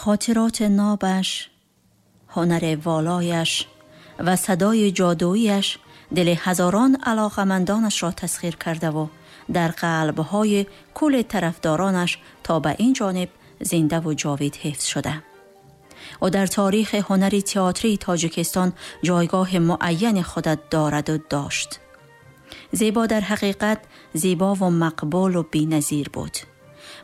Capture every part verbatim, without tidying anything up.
خاطرات نابش، هنر والایش و صدای جادویش دل هزاران علاقمندانش را تسخیر کرده و در قلب‌های کل طرفدارانش تا به این جانب زنده و جاوید حفظ شده. او در تاریخ هنر تئاتری تاجیکستان جایگاه معین خود دارد و داشت. زیبا در حقیقت زیبا و مقبول و بی‌نظیر بود.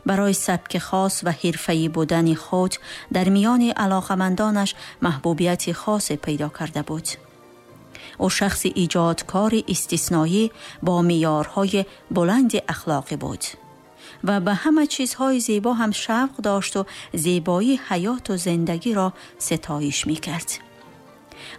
برای سبک خاص و حرفه‌ای بودن خود در میان علاقمندانش محبوبیت خاص پیدا کرده بود. او شخص ایجادکار استثنایی با معیارهای بلند اخلاقی بود و به همه چیزهای زیبا هم شوق داشت و زیبایی حیات و زندگی را ستایش می‌کرد.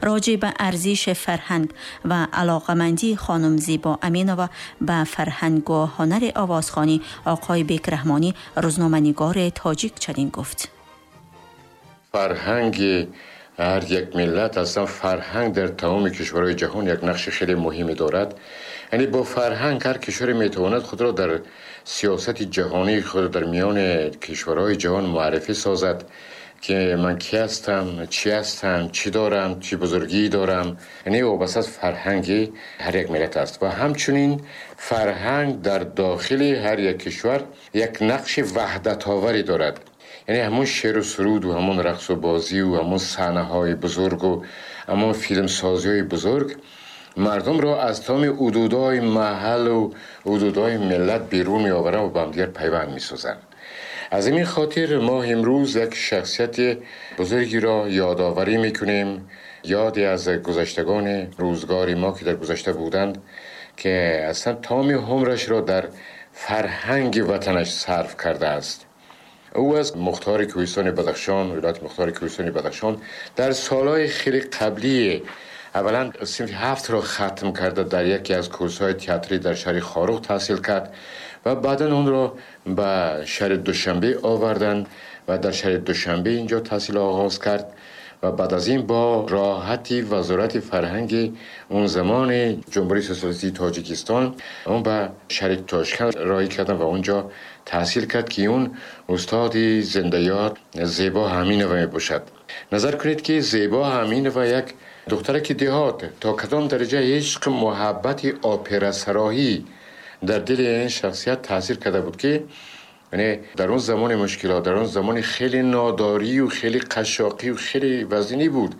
راجع به ارزش فرهنگ و علاقمندی خانم زیبا امینova به فرهنگ و هنر آوازخوانی آقای بیک رحمانی روزنامه‌نگار تاجیک چنین گفت: فرهنگ هر یک ملت، اصلا فرهنگ در تمام کشورهای جهان یک نقش خیلی مهمی دارد. یعنی با فرهنگ هر کشوری میتواند خود را در سیاست جهانی خود در میان کشورهای جهان معرفی سازد که من کی هستم، چی هستم، چی دارم، چی بزرگی دارم. یعنی وابسته از فرهنگ هر یک ملت است و همچنین فرهنگ در داخل هر یک کشور یک نقش وحدت آوری دارد. یعنی همون شعر و سرود و همون رقص و بازی و همون صحنه‌های بزرگ و همون فیلم سازی‌های بزرگ مردم را از تمام حدودهای محل و حدودهای ملت بیرون می‌آورند و با هم دیگر پیوند می‌سازند. از این خاطر ما امروز یک شخصیت بزرگی را یادآوری می‌کنیم، یادی از گذشتگان روزگار ما که در گذشته بودند که اصلا تمام عمرش را در فرهنگ وطنش صرف کرده است. او از مختار کوهستان بدخشان، ولایت مختار کوهستان بدخشان، در سالهای خیلی قبلی اولا صنف هفت را ختم کرده، در یکی از کورس‌های تئاتری در شهر خاروغ تحصیل کرد و بعدا اون را به شهر دوشنبه آوردن و در شهر دوشنبه اینجا تحصیل آغاز کرد و بعد از این با راحتی وزارت فرهنگ اون زمان جمهوری سوسیالیستی تاجیکستان اون به شهر تاشکند راهی کردن و اونجا تحصیل کرد که اون استاد زنده یاد زیبا امینova می باشد. نظر کنید که زیبا امینova یک دخترک دهات تا کدام درجه عشق محبت اپرا سراحی در دل این شخصیت تاثیر کرده بود که یعنی در اون زمان مشکلات، در اون زمان خیلی ناداری و خیلی قشاقی و خیلی وزینی بود،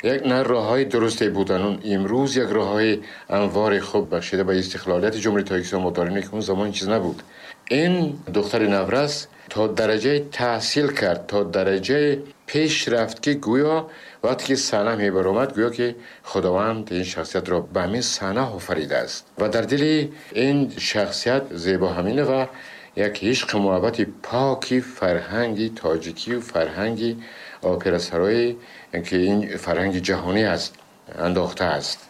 یک نه راه‌های درستی بودن. اون امروز یک راه‌های انوار خوب بخشیده به استقلالیت جمهوری تاجیکستان ما داریم که اون زمان چیز نبود. این دختر نورس تا درجه تحصیل کرد، تا درجه پیش رفت که گویا وقتی که صحنه میبرآمد گویا که خداوند این شخصیت را به همین صحنه آفریده است و در دل این شخصیت زیبا امینova یک عشق محبت پاکی فرهنگی تاجیکی و فرهنگی اپرا سرایی که این فرهنگ جهانی است انداخته است.